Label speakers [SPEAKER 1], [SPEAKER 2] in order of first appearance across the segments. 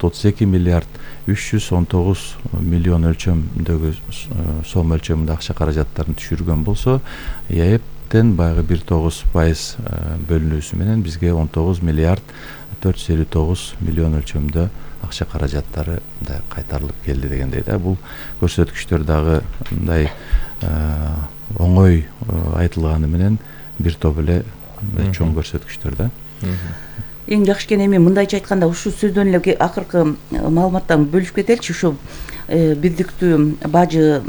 [SPEAKER 1] 32 миллиард 319 миллион өлчөмдөгү сом өлчөмүндө акча каражаттарын түшүргөн болсо, ЕАЭПтен баягы 1,9% бөлүнүүсү менен бизге 19 миллиард 459 миллион өлчөмдө акча каражаттары мындай кайтарылып келди дегендей да. Бул көрсөткүчтөр дагы мындай оңой айтылганы менен бир топ эле чоң көрсөткүчтөр да.
[SPEAKER 2] Эң жакшы экен эми мындайча айтканда ушул сөздөн эле акыркы маалыматтан бөлүшүп кетеличи. Ушу бирдиктүү бажы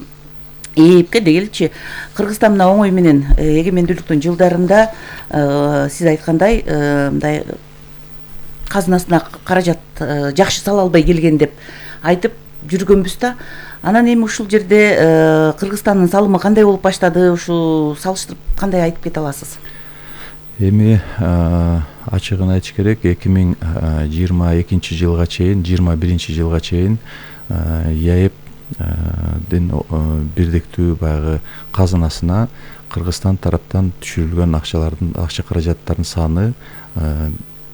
[SPEAKER 2] ээпке дегеличи, Кыргызстан мына оңой менен эгемендүүлүктүн жылдарында сиз айткандай мындай казынасына каражат жакшы сала албай келген деп айтып жүргөнбүз да. Анан эми ушул жерде Кыргызстандын салымы кандай болуп баштады? Ушул салыштырып кандай айтып кете аласыз?
[SPEAKER 1] Эми ачыгын айтыш керек, 2022 жылга чейин, 21 жылга чейин ЕАЭПдин бирдиктүү баягы казынасына Кыргызстан тараптан түшүрүлгөн акча каражаттардын саны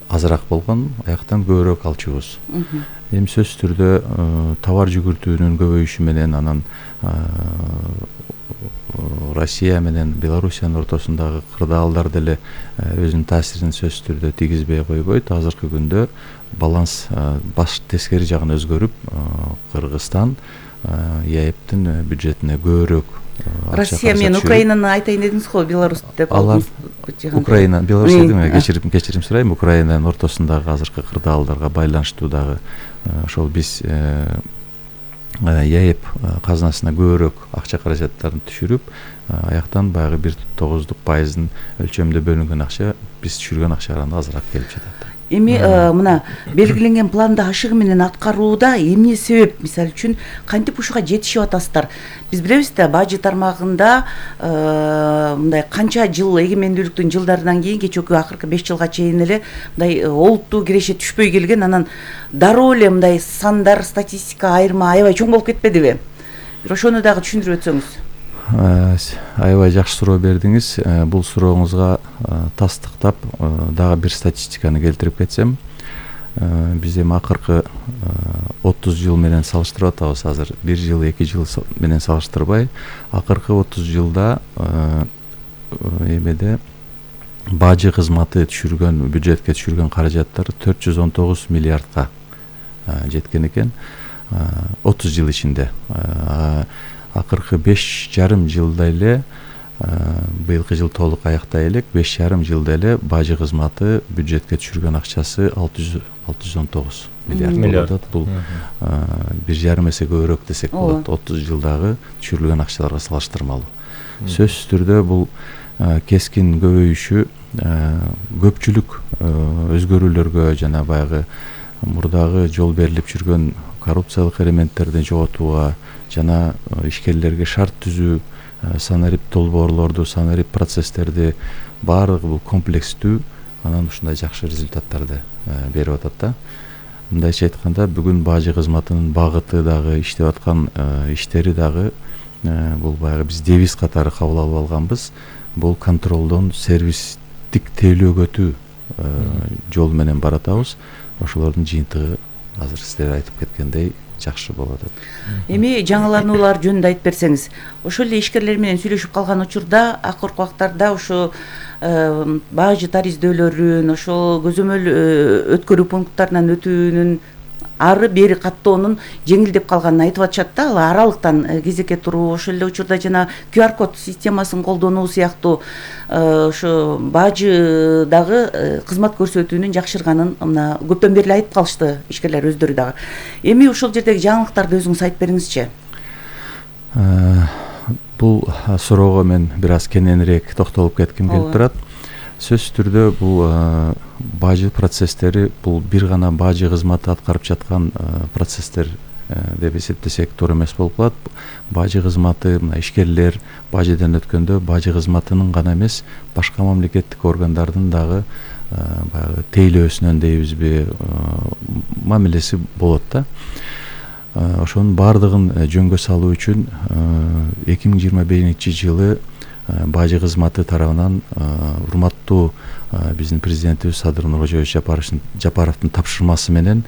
[SPEAKER 1] азыраак болгон, аяктан көбүрөөк алчубуз. Эми сөзсүз түрдө товар жүгүртүүнүн көбөйүшү менен, анан Россия менен Белоруссиянын ортосундагы кырдаалдар деле өзүнүн таасирин сөзсүз түрдө тийгизбей койбойт. Азыркы күндө баланс баш тескери жагын өзгөрүп, Кыргызстан ЕАЭПтин бюджетине көбүрөөк
[SPEAKER 2] Россия менен Украинаны айтайын дедиңиз го, Беларусь деп
[SPEAKER 1] алар Украина, Беларусь дедим, кечирим сурайм. Украинанын ортосундагы азыркы кырдаалдарга байланыштуу дагы ошол биз ЕАЭП казынасына көбүрөөк акча каражаттарын түшүрүп, аяктан баягы 1,9% өлчөмдө бөлүнгөн акча биз түшүргөн акчадан азыраак келип жатат.
[SPEAKER 2] Эми мына белгиленген планды ашыгы менен аткарууда эмне себеп? Мисалы үчүн кантип ушуга жетишип атасыздар? Биз билебиз да, бажы тармагында мындай канча жыл эгемендүүлүктүн жылдарынан кийин кечээки акыркы 5 жылга чейин эле мындай олуттуу киреше түшпөй келген, анан дароо эле мындай сандар, статистика айырма аябай чоң болуп кетпедиби? Бир ошону дагы түшүндүрүп өтсөңүз.
[SPEAKER 1] Аябай жакшы суроо бердиңиз. Бул сурооңузга тастыктап дагы бир статистиканы келтирип кетсем, биз эми акыркы 30 жыл менен салыштырып атабыз. Азыр 1 жыл, 2 жыл менен салыштырбай, акыркы 30 жылда эмеде бажы кызматы түшүргөн, бюджетке түшүргөн каражаттар 419 миллиардка жеткен экен. 30 жыл ичинде. Акыркы 5,5 жылда эле, быйылкы жыл толук аяктай элек, 5,5 жылда эле бажы кызматы бюджетке түшүргөн акчасы 619 миллиард. Бул 1,5 эсе көбүрөөк десек болот. 30 жылдагы түшүрүлгөн акчаларга салыштырмалуу. Сөзсүз түрдө бул кескин көбөйүшү көпчүлүк өзгөрүүлөргө жана баягы мурдагы жол берилип жүргөн коррупциялык элементтерди жоготууга жана ишкерлерге шарт түзүү, санарип долбоорлорду, санарип процесстерди баардыгы бул комплекстүү, анан ушундай жакшы результаттарды берип атат да. Мындайча айтканда, бүгүн бажы кызматынын багыты дагы, иштеп аткан иштери дагы бул баягы биз девиз катары кабыл алып алганбыз. Бул контролдон сервистик тейлөөгө өтүү жол менен баратабыз. Ошолордун жыйынтыгы азыр сиздер айтып кеткендей жакшы болуп атат.
[SPEAKER 2] Эми жаңылануулар жөнүндө айтып берсеңиз, ошол эле ишкерлер менен сүйлөшүп калган учурда, акыркы убактарда ушу бажы тариздөөлөрүн, ошол көзөмөл өткөрүү пункттарынан өтүүнүн ары бери каттоонун жеңилдеп калганын айтып атышат да. Ал аралыктан кезекке туруу, ошол эле учурда жана QR код системасын колдонуу сыяктуу ошо бажы дагы кызмат көрсөтүүнүн жакшырганын мына көптөн бери айтып калышты ишкерлер өздөрү дагы. Эми ошол жердеги жаңылыктарды өзүңүз айтып бериңизчи.
[SPEAKER 1] Бул суроого мен бир аз кененирээк токтолуп кетким келип турат. Сөзсүз түрдө бул бажы процесстери бул бир гана бажы кызматы аткарып жаткан процесстер деп эсептесек туура эмес болуп калат. Бажы кызматы, мына ишкерлер бажыдан өткөндө бажы кызматынын гана эмес, башка мамлекеттик органдардын дагы баягы тейлөөсүнөн дейбизби, мамилеси болот да. Ошонун баардыгын жөнгө салуу үчүн 2021 жылы бажы кызматы тарабынан урматтуу биздин президентибиз Садыр Нуркожоевич Жапаровдун тапшырмасы менен